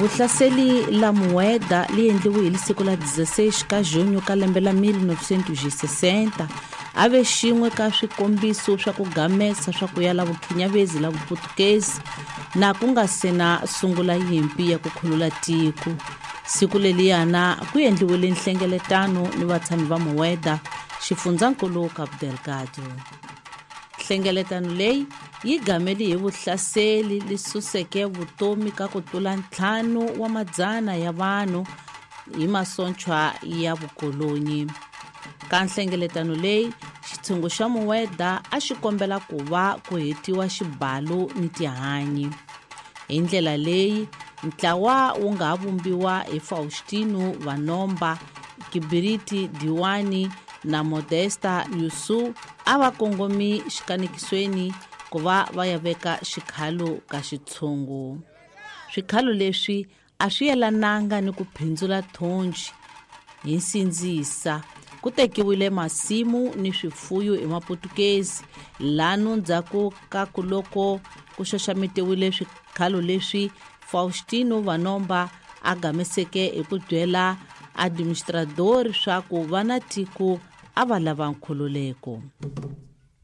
Vuhlaseli la Mueda li endliwe hi siku la 16 ka junho ka lembe la 1960 a ve xin'we ka swikombiso swa ku gamesa swa ku ya la vukhinyavezi la Vuputukezi na ku nga se na sungula yimpi ya ku khulula tiko. Siku leliyana ku endliwile nhlengeletano ni vatshami va Mueda, xifundzankulu Cabo Delgado. Nhlengeletano leyi yi gameli hi vuhlaseli li suseke vutomi ka ku tlula 500 ya vanhu hi masochwa ya vukolonyi. Ka nhlengeletano leyi, xitshungu xa Mueda a xi kombela ku va ku hetiwa xibalo ni tihanyi. Hi ndlela leyi, ntlawa wu nga ha vumbiwa hi Faustino Vanomba, Kibiriti Diwani na Modesta Yusu a va kongomi xikanekisweni ku va va ya veka xikhalo ka xitshungu. Swikhalo leswi a swi yelananga ni ku phindzula thonji hi nsindzisa. Ku tekiwile masimu ni swifuyo hi Maputukezi lanu ndzhaku ka ku loko ku xaxametiwile swikhalo leswi Faustino Vanomba a gameseke hi ku byela administrador swa ku va na tiko a va lava nkhululeko.